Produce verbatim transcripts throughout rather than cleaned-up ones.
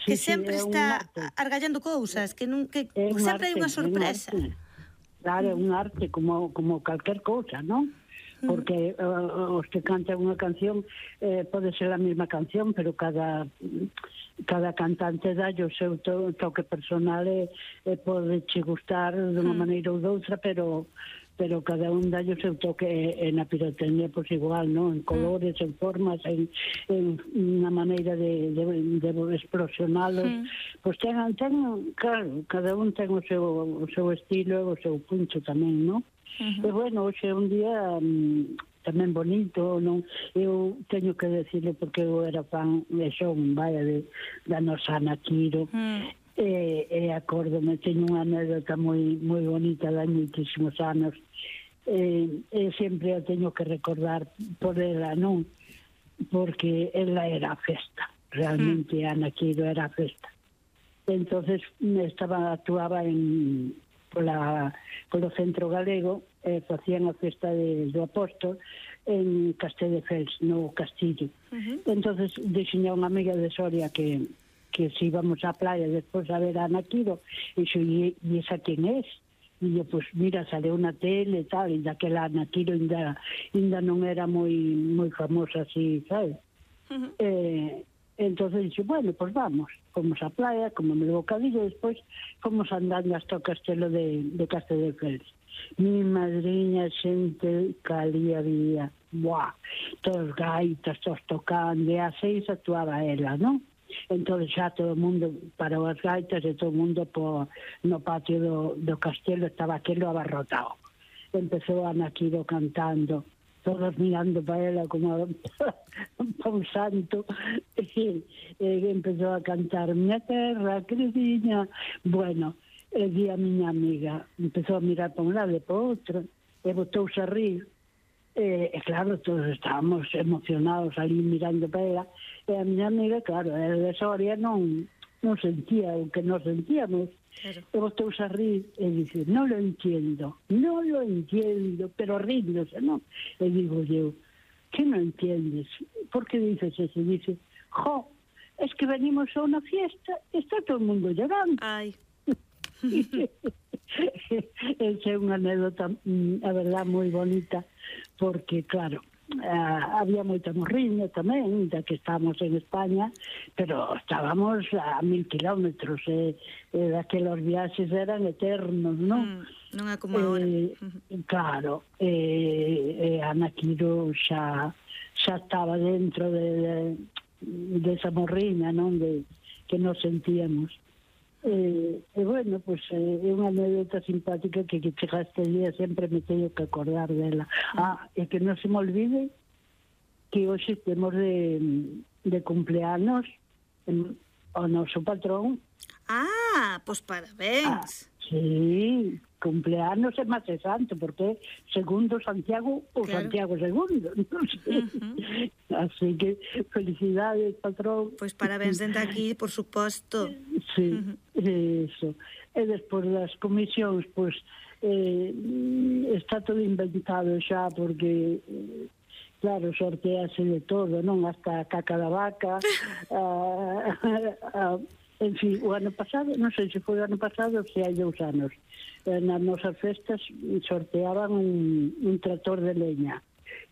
que sempre está argallando cousas, que sempre hai unha sorpresa. Claro, é un arte como calquer cousa, non? Porque os que cantan unha canción pode ser a mesma canción, pero cada cada cantante dá o seu toque personal e pode che gustar de unha maneira ou doutra, pero pero cada un dá o seu toque na pirotecnia, pois igual, non? En colores, en formas, en unha maneira de explosionalos. Pois ten, claro, cada un ten o seu estilo e o seu punto tamén, non? E bueno, hoxe é un día tamén bonito, non? Eu teño que decirle, porque eu era fan e son, vaya, da nosa Ana Quiro, e acórdome, teño unha anécdota moi moi bonita de moitísimos anos, e sempre a teño que recordar por ela, non? Porque ela era a festa, realmente Ana Quiro era a festa. Entonces estaba, actuaba en pola, polo Centro Galego, e facían a festa do Apóstol en Castelldefels, no Castillo. Entonces dixiña unha amiga de Soria que que se íbamos á playa despois a ver a Ana Quiro, e xo, e esa quen es? E yo, pues mira, saleu na tele e tal, e daquela Ana Quiro ainda non era moi moi famosa así, sabes? Entonces dixo, bueno, pues vamos, fomos á playa, como me levou Cadillo, despois fomos andando hasta o castelo de Castelldefels. Mi madriña, xente que ali había, buah, todos gaitas, todos tocando, e a seis actuaba ela, non? Entón xa todo o mundo parou as gaitas e todo o mundo no patio do castelo estaba aquilo abarrotado. Empezou Ana Quiro cantando, todos mirando para ela como para un santo, e empezou a cantar Miña terra, crediña. Bueno, e di a miña amiga, empezou a mirar para un lado e para outro, e botouse a rir. E claro, todos estábamos emocionados ali mirando para ela, e a miña amiga, claro, era de Soria, non non sentía o que nos sentíamos, e botouse a rir e dice, non lo entiendo, non lo entiendo, pero ríndose, non? E digo eu, que non entiendes? Por que dices eso? E dice, jo, es que venimos a unha fiesta e está todo o mundo llorando. Ai. Esa é unha anécdota, a verdad, moi bonita, porque, claro, había moita morriña tamén, da que estábamos en España, pero estábamos a mil kilómetros, e daquelos viaxes eran eternos, non? Non é como agora. Claro, e Ana Quiro xa xa estaba dentro de esa morriña, non? Que nos sentíamos. E, e bueno, pues é unha anécdota simpática que que chega este día sempre me teño que acordar dela. Ah, e que non se me olvide que hoxe temos de, de cumpleanos o noso patrón. Ah, pois parabéns. Ah, sí, cumpleanos é máis santo, porque segundo Santiago ou claro. Santiago segundo, non sei. Uh-huh. Así que felicidades, patrón. Pois parabéns dende aquí, por suposto. Sí, uh-huh. Eso. E despois das comisións, pois eh, está todo inventado xa, porque eh, claro, sortease de todo, non? Hasta a caca da vaca, a, a, en fin, o ano pasado, non sei se foi o ano pasado ou se hai dous anos, nas nosas festas sorteaban un, un trator de leña,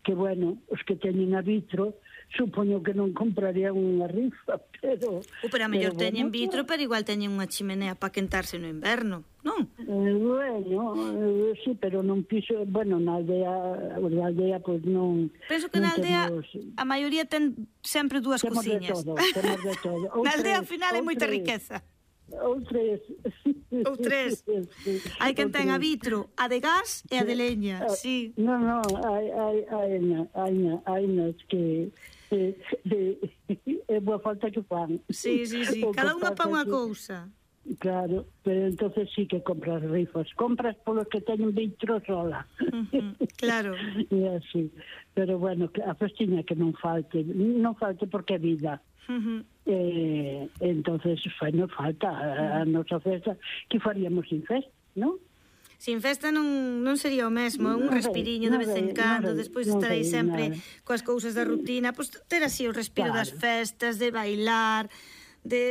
que bueno, os que teñen a vitro, supoño que non comprarían unha rifa, pero... O, pero a mellor teñen bueno, vitro, pero igual teñen unha chimenea para quentarse no inverno, non? Eh, bueno, eh, sí, pero non piso... Bueno, na aldea, na aldea, pois pues, non... Penso que na aldea temos, a maioría ten sempre dúas temos cociñas. De todo, temos de todo. Na aldea, ao final, é moita riqueza. Ou tres. Ou tres. Hai quen ten a vitro, a de gas e a de leña, sí. Non, non, hai, hai, hai, hai, hai, hai, que... É boa falta que fan. Sí, sí, sí, cada unha pa unha cousa. Claro, pero entonces sí que compras rifas. Compras polos que teñen vitro sola. Uh-huh, claro. E así. Pero bueno, a festiña que non falte, non falte porque é vida. Uh-huh. Eh, entonces fai non falta a, a nosa festa, que faríamos sin festa, non? Sin festa non, non sería o mesmo, un respiriño de vez en cando, despois estaréis sempre coas cousas da rutina, pois ter así o respiro das festas, de bailar, de